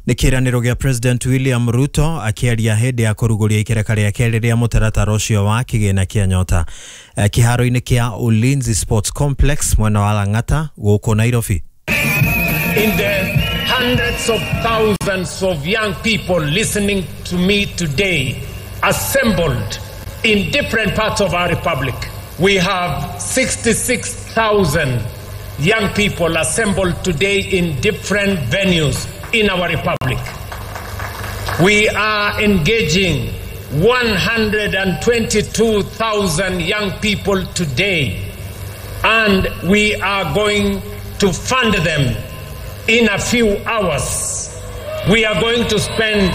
Nĩ kĩĩranĩro gĩa President William Ruto akĩaria hĩndĩ ya kũrugũria ikereka rĩa kerĩ rĩa mũtaratara ũcio wa kĩgĩna kĩa Nyota kĩharo-inĩ kĩa Ulinzi Sports Complex mwena wa Lang'ata gũkũ Nairobi. In the hundreds of thousands of young people listening to me today, assembled in different parts of our republic, we have 66,000 young people assembled today in different venues in our republic. We are engaging 122,000 young people today, and we are going to fund them in a few hours. We are going to spend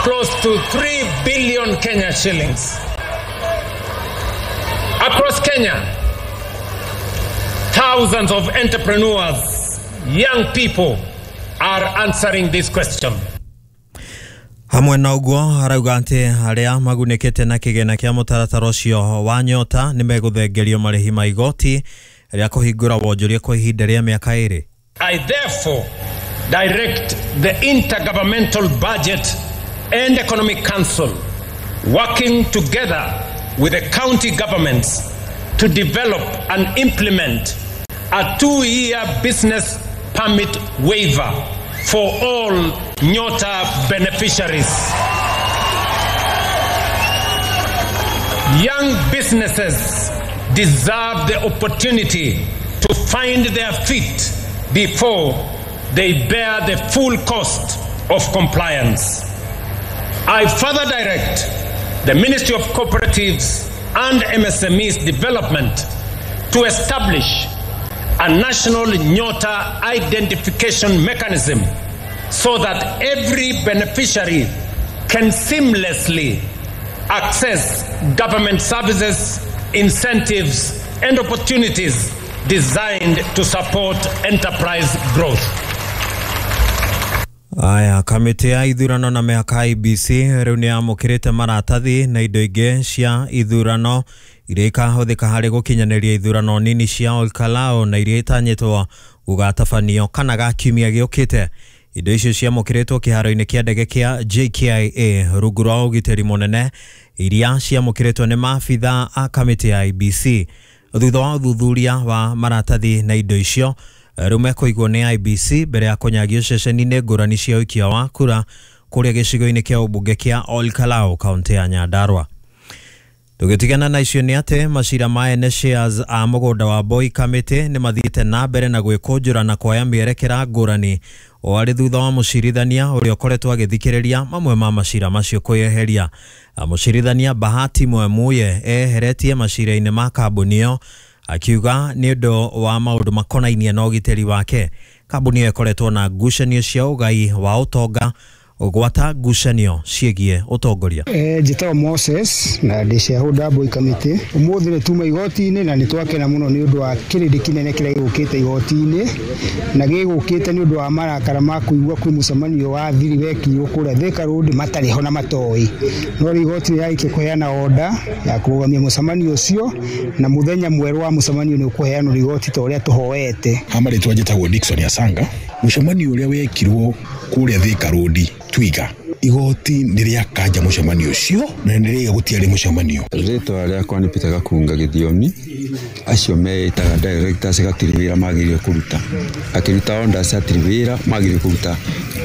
close to 3 billion Kenya shillings. Across Kenya, thousands of entrepreneurs, young people, are answering this question. Hamwe na ũguo arauga atĩ arĩa magunĩkĩte na kĩgĩna kĩa mũtaratara ũcio wa Nyota nĩ megũthengerio marĩhi ma igoti rĩa kũhingũra wonjoria kwa ihinda rĩa mĩaka 2. I therefore direct the Intergovernmental Budget and Economic Council, working together with the county governments, to develop and implement a 2-year business permit waiver for all Nyota beneficiaries. Young businesses deserve the opportunity to find their feet before they bear the full cost of compliance. I further direct the Ministry of Cooperatives and MSMEs Development to establish a national Nyota identification mechanism so that every beneficiary can seamlessly access government services, incentives, and opportunities designed to support enterprise growth. Aya, kamĩtĩ ya ithurano na mĩhaka IEBC rĩu nĩ yamũkĩrĩte maratathi na indo ingĩ cia ithurano iria ikahũthĩka harĩ gũkinyanĩria ithurano nini cia Olkalou na iria itanyĩtwo gũgatabanio kana ga kiumia gĩũkĩte. Indo icio ciamũkĩrĩtwo kĩharo-inĩ kĩa ndege kĩa JKIA rungu rwa ũgitĩri mũnene, iria ciamũkĩrĩtwo nĩ maabitha a kamĩtĩ ya IEBC. Thutha wa ũthuthuria wa maratathi na indo icio rĩu mekũigwo nĩ IEBC mbere ya kũnyagio ceceni-inĩ ngũrani cia ũikia wa kura kũrĩa gĩcigo-inĩ kĩa ũmbunge kĩa Olkalou kaũntĩ ya Nyandarua. Tũgĩtigana na icio nĩ atĩ macira ma ene shares a mũgũnda wa Boy Kamĩtĩ nĩ mathiĩte na mbere na gwĩkũnjũra na kuoya mĩerekera ngũrani o arĩ thutha wa mũcirithania ũrĩa ũkoretwo agĩthikĩrĩria mamwe ma macira macio kwĩyeheria. Mũcirithania Bahati Mwemuye eheretie macira-inĩ ma kambuni ĩyo akiuga nĩ ũndũ wa maũndũ makonainie na ũgitĩri wake. Kambuni ĩyo ĩkoretwo na ngucanio cia ũgai wa ũtonga gwata ngucanio ciĩgiĩ ũtongoria. Njĩtagwo Moses na ndĩ shareholder Boy Kamĩtĩ. Ũmũthĩ nĩ tuma igoti-inĩ na nĩ twakena mũno nĩ ũndũ wa kĩrĩndĩ kĩnene kĩrĩa gĩgũkĩte igoti-inĩ, na gĩgũkĩte nĩ ũndũ wa marakara ma kũigua kwĩ mũcemanio wa thiri wekirwo kũrĩa Thika Road matarĩ ho na matoĩ. No rĩu igoti nĩrĩarĩkia kũheana order ya kũrũgamia mũcemanio ũcio, na mũthenya mwerũ wa mũcemanio nĩ ũkũheanwo igoti ta ũrĩa tũhoete. Ha marĩtwa njĩtagwo Dickson Asanga. Mũcemanio ũrĩa wekirwo kũrĩa Thika Road Twiga, igoti nĩ rĩakanja mũcemanio ũcio na nĩ rĩaiga gũtiarĩ mũcemanio. Rĩtwa rĩakwa nĩ Peter Gakunga Gĩthiomi. Acio meĩtaga directors gatirĩ wĩra magĩrĩire kũruta, akĩruta orders hatirĩ wĩra magĩrĩire kũruta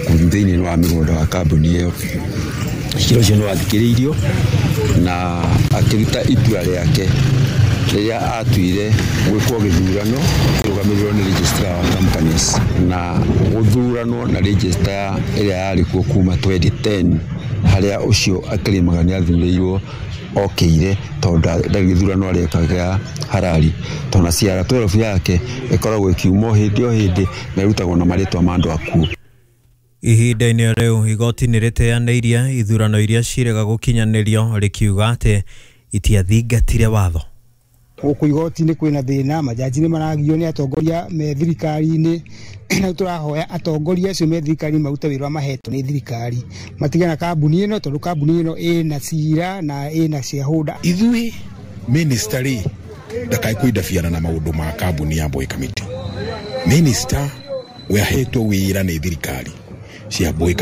thĩinĩ wa mĩgũnda wa kambuni ĩyo. Cira ũcio nĩ wathikĩrĩirio na akĩruta itua rĩake rĩrĩa atuire gwĩkwo gĩthurano kĩrũgamĩrĩrwo nĩ registrar wa companies na gũthuranwo na registrar ĩrĩa yarĩ kuo kuma 2010 harĩa ũcio akĩrĩmaga nĩ athurĩirwo okĩire tondũ ndarĩ gĩthurano areka gĩa harari, tondũ na CR12 yake ĩkoragwo ĩkiuma o hĩndĩ o hĩndĩ na ĩrutagwo na marĩtwa ma andũ akuũ. Ihinda-inĩ rĩu igoti nĩ rĩteanĩirie ithurano iria cirega gũkinyanĩrio rĩkiuga atĩ itiathingatire watho. Gũkũ igoti-inĩ kwĩna thĩna, majaji nĩ maragio nĩ atongoria me thirikari-inĩ, na tũrahoya atongoria acio me thirikari marute wĩra mahetwo nĩ thirikari, matigane na kambuni ĩno tondũ kambuni ĩno ĩna cira na ĩna shareholder. Ithuĩ minister rĩ ndakae kũindabiana na maũndũ ma kambuni ya Boy Kamĩtĩ. Minister we ahetwo wĩra nĩ thirikari cia Boy